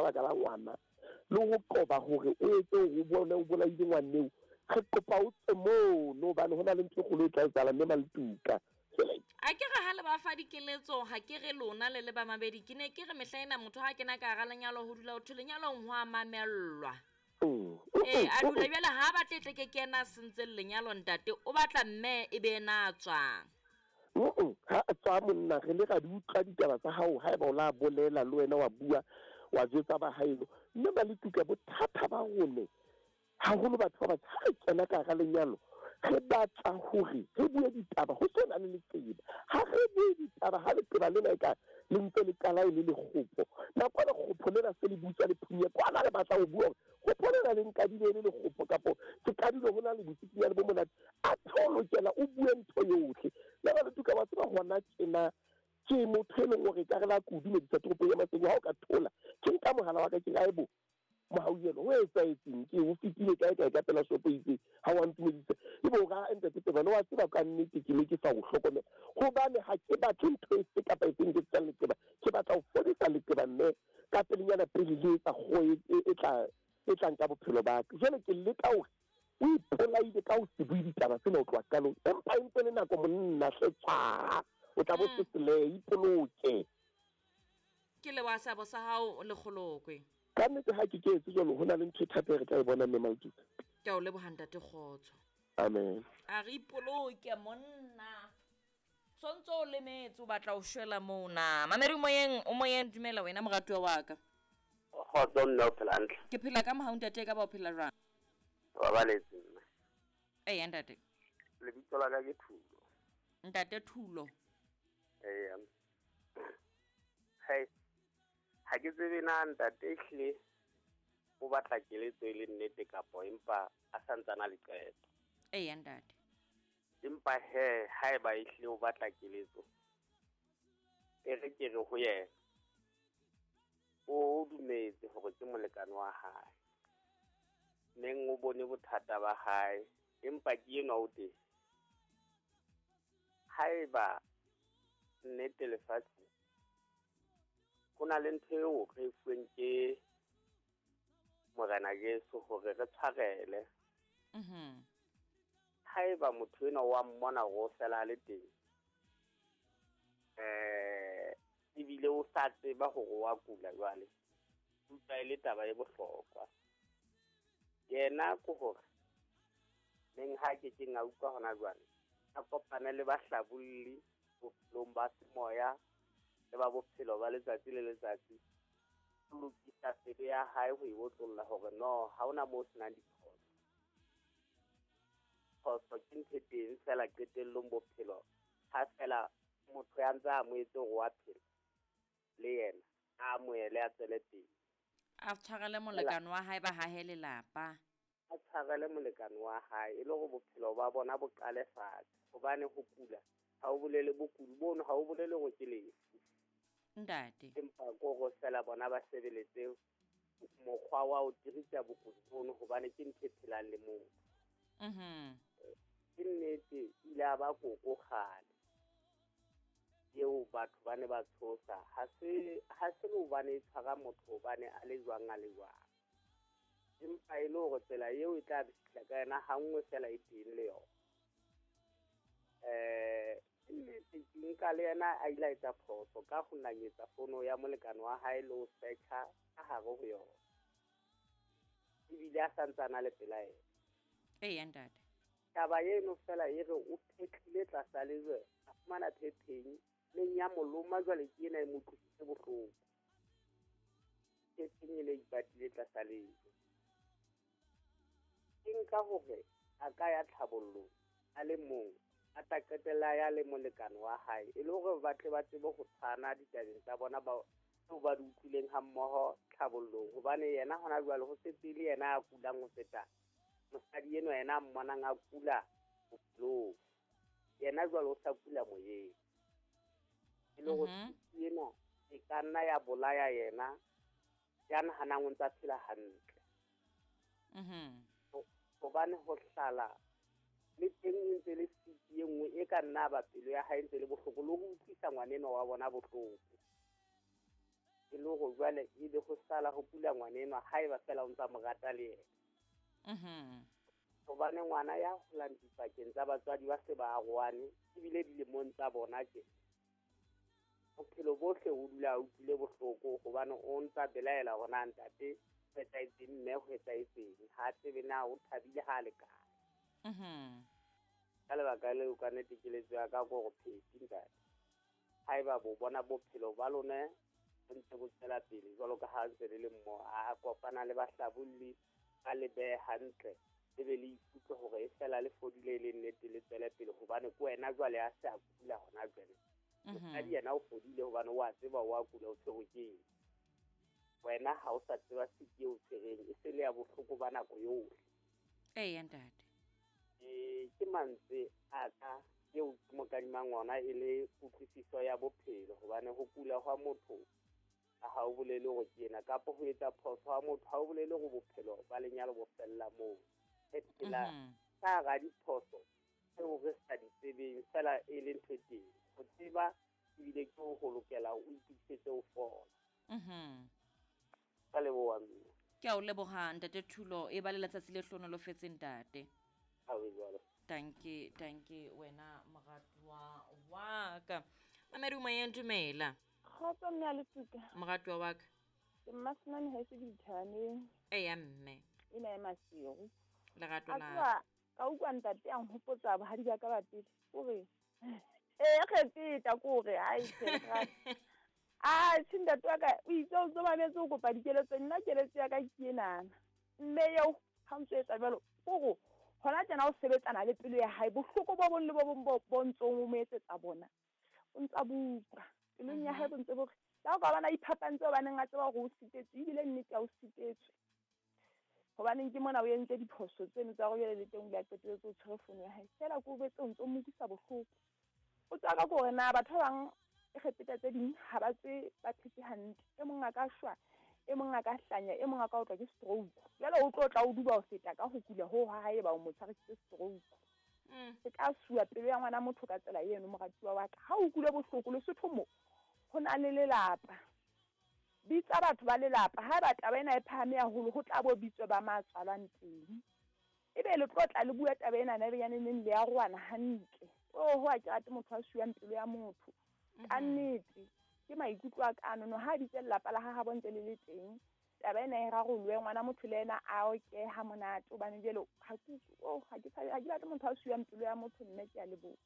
ka baka la ngwana le ho qoba hore o etse hore o bone o bolaile ngwaneo. Re kopa o tswe mono hobane ho na le ntho e kgolo e tla etsahala mme Maletuka. A ke re ha le ba fa dikeletso, ha ke re lona le le ba mabedi, ke ne ke re mehla ena motho ha kena ka hara lenyalo ho dula ho thwe lenyalong ho a mamellwa. Ee, a dula jwale ha a batle tle ke kena sentseng lenyalo ntate, o batla mme e be ena a tswang. Ha a tswa monna re le ra di utlwa ditaba tsa hao haeba o la bolela le wena wa bua wa jwetsa ba haeno. Mme Maletuka bothata ba rone haholo batho ba batsho ha re kena ka hara lenyalo re batla hore re bue ditaba ho se na le leqeba. Ha re bue ditaba ha leqeba lena e ka le ntse le qala e le lekgopo. Nako lekgopo lena se le butswa le phunye kwana re batla ho bua hore kgopo lena le nkadile e le lekgopo kapo ke qadile ho na le botsikinyane bo monate. A tho lokela o bue ntho yohle. Le Maletuka wa tseba hona tjena ke motho e leng hore ka re la kudu medisa toropong ya Maseru ha o ka thola ke nka mohala wa ka ke re aebo Mohauyelo ho etsahetseng ke o fetile kae kae ka pela shopo e itseng ha wa ntumedisa ebe o ra ntate Tebane wa tseba ka nnete ke ne ke sa o hlokomela hobane ha ke batle ntho efe kapa efeng ke tsang leqeba ke batla ho fodisa leqeba mme ka pelenyana pele le etsa kgoho e tla e tla nka bophelo ba ka. Jwale ke leka hore o ipolaile ka ho se bue ditaba tsena ho tloha qalong empa e ntse le nako monna hle tswa o tla bo seselehe ipoloke. Ke leboha seabo sa hao Lekgolokwe. Ka nnete ha ke ke etse jwalo ho na le ntho e thata e re tla e bona mme Maletuka. Ke a o leboha ntate Kgotso. Amen. A re ipoloke monna. Sontso o lemetse o batla ho shwela moo na. Mamedi o moyeng o moyeng dumela wena moratuwa wa ka. Kgotso mme o phela hantle. Ke phela ka mohau ntate e ka ba o phela jwang? Babaletse mme. Eya ntate. Lebitso la ka ke Thulo. Ntate Thulo. Eya. Hey. Ha ke tsebe na ntate ehlile o batla keletso e le nnete kapo empa a santsana le qeto. Eya ntate. Empa he haeba ehlile o batla keletso e re ke re ho yena o dumetse hore ke molekane wa hae. Neng o bone bothata ba hae empa ke enwa o teng. Haeba nnete lefatshe ho na le ntho eo re e fuweng ke Morena Jesu hore re tshwarele. Haeba motho enwa wa mmona hore o fela a le teng ebile o sa tseba hore wa kula jwale, utlwa e le taba e bohlokwa. Yena ke hore neng ha ke keng a utlwa hona jwale, a kopane le bahlabolli bophelong ba semoya le ba bophelo ba letsatsi le letsatsi, ho lokisa pelo ya hae ho e otlolla hore no ha hona moo senang diphoso. Phoso ke ntho e teng fela qetellong bophelo ha fela motho ya ntse a amohetse hore wa phela le yena a amohele a tswele pele. A tshwarele molekane wa hae ba hahe lelapa. A tshwarele molekane wa hae e le hore bophelo ba bona bo qale fatshe hobane ho kula ha o bolele bokudi bono ha o bolele hore ke lefu. Ntate. Empa kore fela bona ba sebeletse mokgwa wa ho tirisa bokudi bono hobane ke ntho e phelang le motho. Ke nnete ile a ba koko kgale eo batho ba ne ba tshosa ha se le hobane e tshwara motho hobane a le jwang a le jwang. Empa e le hore tsela eo e tla fihla ka yena ha nngwe fela e teng le yona. Nnete ke nka le yena a ile a etsa phoso ka ho nanyetsa fono ya molekane wa hae le ho search-a ka hare ho yona. Ebile a santsana le pela yena. Eya ntate. Taba eno fela e re o phetlile tlasa lejwe, a fumana phepheng neng ya moloma jwale ke ena e mo utlwisitse bohloko. Phepheng e le ipatile tlasa lejwe. Ke nka hore a ka ya tlhabollong a le mong, a tla qetella ya le molekane wa hae e le hore ba tle ba tsebe ho tshwana ditabeng tsa bona ba tseo ba di utlwileng ha mmoho tlhabollong hobane yena hona jwale ho setse le yena a kulang ho feta mosadi enwa yena a mmonang a kula bophelong. Yena jwale o sa kula moyeng. E le hore ena e ka nna ya bolaya yena ya nahanang o ntsa phela hantle. Hobane ho hlala le teng e ntse le siki e nngwe e ka nna ba pelo ya hae ntse le bohloko le ho utlwisa ngwanenwa wa bona bohloko. E le hore jwale ebe ho sala ho kula ngwana enwa haeba feela o ntsa mo rata le yena. Hobane ngwana ya holang dipakeng tsa batswadi ba se ba arohane ebile dilemong tsa bona tje. Bophelo bohle o dula a utlwile bohloko hobane o ntsa belaela hore na ntate ho etsahetseng, mme ho etsahetseng. Ha tsebe na o thabile ha le kae. Ka lebaka leo ka nnete keletso ya ka ke hore Pheti ntate, haeba bo bona bophelo ba lona bo ntse bo tswela pele jwalo ka ha ntse le le mmoho, a kopana le bahlabolli ba le behe hantle, le be le ikutlwe hore e fela le fodile e le nnete, le tswele pele hobane ke wena jwale a se a kula hona jwale. Mosadi yena o fodile hobane o a tseba o a kula, o tshwerwe ke eng. Wena ha o sa tseba siki eo tshwereng, e se le ya bohloko ba nako yohle. Eya ntate. Ke mantswe a ka eo ke mo kadimang ona e le kutlwisiso ya bophelo, hobane ho kula hwa motho ha o bolele hore ke yena, kapa ho etsa phoso ha motho ha o bolele hore bophelo ba lenyalo bo fella moo. Re phela ka hara diphoso tseo re sa di tsebeng, fela e le ntho e teng. Ho tseba ebile ke ho lokela o itokisetse ho fola. Ka leboha mme. Ke a o leboha ntate Thulo, e ba le letsatsi le hlohonolofetseng ntate. Ha o jwalo. Tanke, tanke wena moratuwa wa ka. Mamedi o moyeng, dumela. Kgotso mme a Letuka. Moratuwa wa ka. Ke Mmasenane ha e se dithabaneng. Eya mme. Ena ya Maseru. Lerato A la. tseba ka utlwa ntate a nhopotsa bohadi ba ka ba pele. O re, ee, kgepeta ke hore, hai, tjhe, a tjhe, ntate wa ka o itse o ntso mametse o kopa dikeletso, nna keletso ya ka ke enana. Mme eo ha ntso etsa jwalo, kore hona tjena o sebetsana le pelo ya hae, bohloko bo bong le bo bong bo ntsong o mo etsetsa bona, o ntsa bo utlwa pelong ya hae, bo ntse bo re, le ha o ka bona iphapantse hobaneng a tseba hore o sitetswe, ebile nnete ha o sitetswe. Hobaneng ke mona o entse diphoso tseno tsa hore jwale le teng o ile a qetelletse o tshwere fono ya hae. Feela ke o betse o ntso mo utlwisa bohloko. O tswa ka hore na batho ba bang e kgepeta tse ding ha ba tswe ba phetse hantle. E mong a ka shwa, e mong a ka hlanya, e mong a ka otlwa ke stroke. Jwale o tlo tla o duba ho feta ka ho kula hoo ha hae ba o mo tshwarisitse stroke. E ka suwa pelo ya ngwana motho ka tsela eno, moratuwa wa ka. Ha o utlwile bohloko Lesotho mo, ho na le lelapa. Bitsa batho ba lelapa. Haeba taba ena e phahame haholo, ho tla bo bitswe ba matswalwang teng. Ebe le tlo tla le bua taba ena na benyaneng le ya roana hantle. Oh, ho a ke rate motho a suwang pelo ya motho. Ka nnete ke maikutlo a ka ano, ha bitse lelapa la ha ha bontse le le teng. Taba ena e rarolwe, ngwana motho le yena a oke ha monate, hobane jwale ha ke oh, ha ke tshabe, ha ke batle motho a suwang pelo ya motho, mme ke a leboha.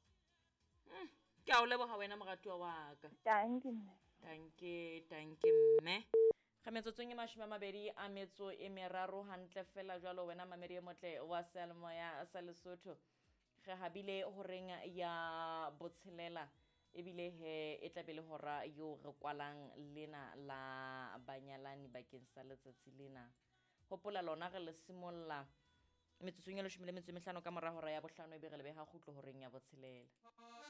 Ke a o leboha wena moratuwa wa ka. Tanki mme. Tanke, tanke mme. Re metsotsong e 23 hantle fela jwalo wena mamedi e motle wa seyalemoya sa Lesotho. Re habile horeng ya botshelela ebile he e tla be le hora eo re kwalang lena la banyalani bakeng sa letsatsi lena. Hopola lona re le simolla metsotsong e 15 ka mora hora ya bohlano ebe re le beha kgutlo horeng ya botshelela.